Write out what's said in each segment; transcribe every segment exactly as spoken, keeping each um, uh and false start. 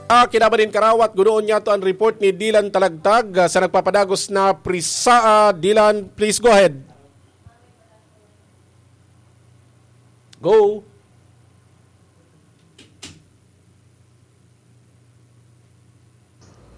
Ah, kinaban nin karawat, gunoon niya to ang report ni Dylan Talagtag, ah, sa nagpapadagos na Prisaa. Dylan, please go ahead. Go.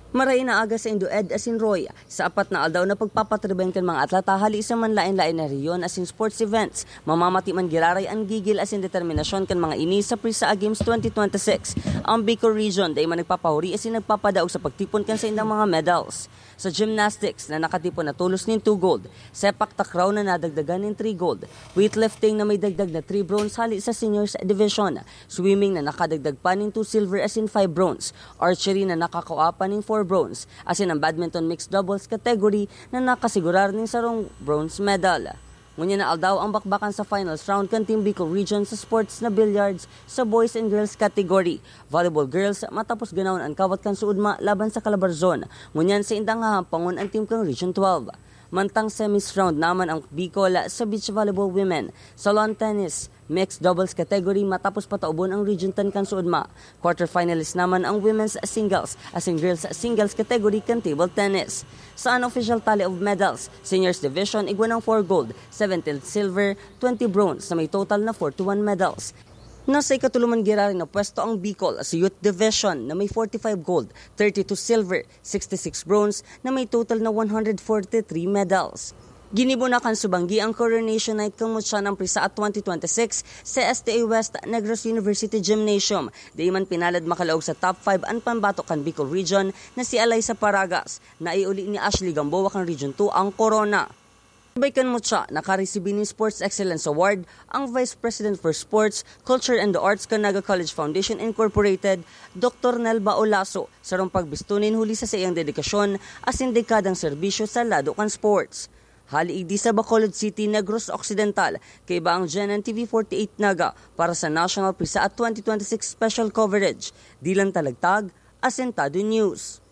Maray na aga saindo, Ed asin Roy. Sa apat na aldaw na pagpapatribayan kan mga atleta hali sa manlaen-laen na rehiyon asin sports events, mamamati man giraray an gigil asin determinasyon kan mga ini sa Prisaa Games twenty twenty-six. Ang Bicol Region dai man nagpapahuri asin nagpapadaog sa pagtipon kan saindang mga medals. Sa gymnastics na nakatipon na tolos nin two gold, sepak takraw na nadagdagan nin three gold, weightlifting na may dagdag na three bronze hali sa seniors division, swimming na nakadagdag pa nin two silver asin five bronze, archery na nakakua pa nin four bronze, asin ang badminton mixed doubles category na nakasigurar nin sarong bronze medal. Ngunyan na aldaw ang bakbakan sa finals round kan Team Bicol Region sa sports na billiards sa boys and girls category. Volleyball girls, matapos ganahon an kawat kan suudma laban sa Calabarzon, ngunyan saindang hahampangon an team kan Region twelve. Mantang semis round naman ang Bicol sa beach volleyball women. Sa lawn tennis, mixed doubles category, matapos pataubon ang Region ten kan suudma. Quarterfinalist naman ang women's singles asin girls singles category kan table tennis. Sa unofficial tally of medals, seniors division igwa ng four gold, seventeen silver, twenty bronze na may total na forty-one medals. Nasa ikatulo man giraray na pwesto ang Bicol sa youth division na may forty-five gold, thirty-two silver, sixty-six bronze na may total na one hundred forty-three medals. Ginibo na kan subanggi ang Coronation Night kan Mutya ng Prisaa twenty twenty-six sa S T A West Negros University Gymnasium. Di man pinalad makalaog sa top five an pambato kan Bicol Region na si Alaysa Paragas, na iuli ni Ashley Gamboa kan Region two ang korona. Sabay kan Mutya, nakaresibi nin Sports Excellence Award ang Vice President for Sports, Culture and the Arts kan Naga College Foundation Incorporated, Doktor Nelba Olaso, sarong pagbisto nin huli sa saiyang dedikasyon asin dekadang serbisyo sa lado kan sports. Hali igdi sa Bacolod City, Negros Occidental, kaiba ang G N N T V forty-eight Naga para sa National Prisaa twenty twenty-six Special Coverage. Dylan Talagtag, Asentado News.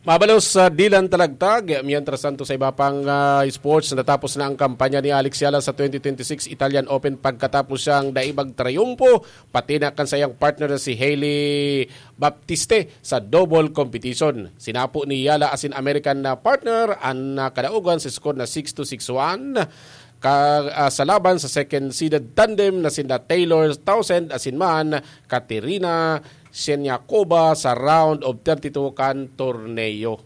Mabalos sa Dylan Talagtag. Mientras tanto, sa iba pang, ah, sports, natapos na ang kampanya ni Alex Yala sa twenty twenty-six Italian Open pagkatapos siyang dai magtrayumpo, pati na kan sayang partner na si Hailey Baptiste sa double competition. Sinapo ni Yala asin American na partner an, ah, kadaogan sa score na six two, six one. Ka, ah, sa laban sa second seeded tandem na sinda Taylor Townsend asin man Katerina Siniakova sa round of thirty-two kan torneo.